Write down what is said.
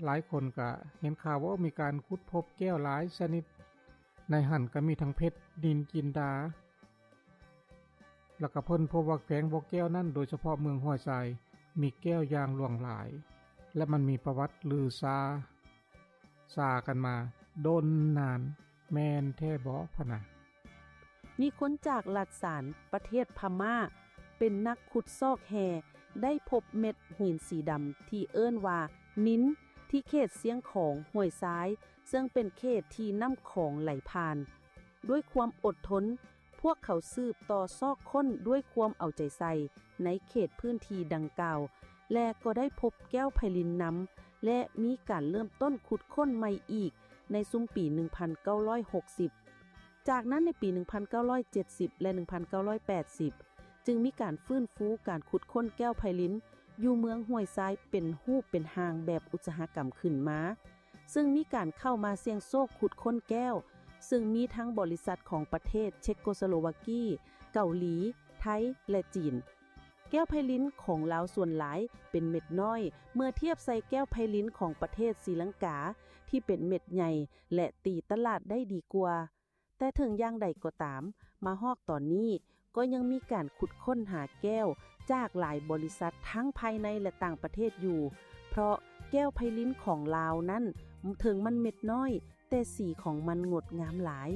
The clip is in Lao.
ຫຼາຍຄົນກະເຫັນຂ່າວວ່າມີການຂຸດພົບແກ້ວຫຼາຍຊະນິດ, ໃນຫັ້ນກະມີທັງເພັດ, ນິນຈິນດາ ແລ້ວກະເພິ່ນພົບວ່າແຂວງບໍ່ແກ້ວນັ້ນ ໂດຍສະເພາະເມືອງຫ້ວຍຊາຍ ມີແກ້ວຢ່າງຫຼວງຫຼາຍ ແລະ ມັນມີປະຫວັດລືຊາ ຊາກັນມາດົນນານ ແມ່ນແທ້ບໍພະນະ? ມີຄົນຈາກລັດສານ ປະເທດພະມ້າ ເປັນນັກຂຸດຊອກແຮ່ ໄດ້ພົບເມັດຫີນສີດຳທີ່ເອີ້ນວ່ານິນ ທີ່ເຂດຊຽງຂອງ ຫ້ວຍຊາຍ ເຊິ່ງເປັນເຂດທີ່ນ້ຳຂອງໄຫຼຜ່ານ. ດ້ວຍຄວາມອົດທົນ, ພວກເຂົາສືບຕໍ່ຊອກຄົ້ນດ້ວຍຄວາມເອົາໃຈໃສ່ ໃນເຂດພື້ນທີ່ດັ່ງກ່າວ ແລະ ກໍໄດ້ພົບແກ້ວໄພລິນນຳ ແລະ ມີການເລີ່ມຕົ້ນຂຸດຄົ້ນໃໝ່ອີກໃນຊຸມປີໜຶ່ງພັນເກົ້າຮ້ອຍຫົກສິບ. ຈາກນັ້ນໃນປີໜຶ່ງພັນເກົ້າຮ້ອຍເຈັດສິບ ແລະ ໜຶ່ງພັນເກົ້າຮ້ອຍແປດສິບ ຈຶ່ງມີການຟື້ນຟູການຂຸດຄົ້ນແກ້ວໄພລິນຢູ່ເມືອງຫ້ວຍຊາຍເປັນຮູບເປັນຮ່າງແບບອຸດສາຫະກຳຂຶ້ນມາ, ເຊິ່ງມີການເຂົ້າມາສ່ຽງໂຊກຂຸດຄົ້ນແກ້ວ, ເຊິ່ງມີທັງບໍລິສັດຂອງປະເທດເຊັກໂກສະໂລວາກີ, ເກົາຫຼີ, ໄທ ແລະ ຈີນ. ແກ້ວໄພລິນຂອງລາວສ່ວນຫຼາຍເປັນເມັດນ້ອຍ ເມື່ອທຽບໃສ່ແກ້ວໄພລິນຂອງປະເທດສີລັງກາ ທີ່ເປັນເມັດໃຫຍ່ ແລະ ຕີຕະຫຼາດໄດ້ດີກວ່າ. ແຕ່ເຖິງຢ່າງໃດກໍຕາມ, ມາຮອດຕອນນີ້ກໍຍັງມີການຂຸດຄົ້ນຫາແກ້ວຈາກຫຼາຍບໍລິສັດທັງພາຍໃນ ແລະ ຕ່າງປະເທດຢູ່, ເພາະແກ້ວໄພລິນຂອງລາວນັ້ນ ເຖິງມັນເມັດນ້ອຍ, ແຕ່ສີຂອງມັນງົດງາມຫຼາຍ.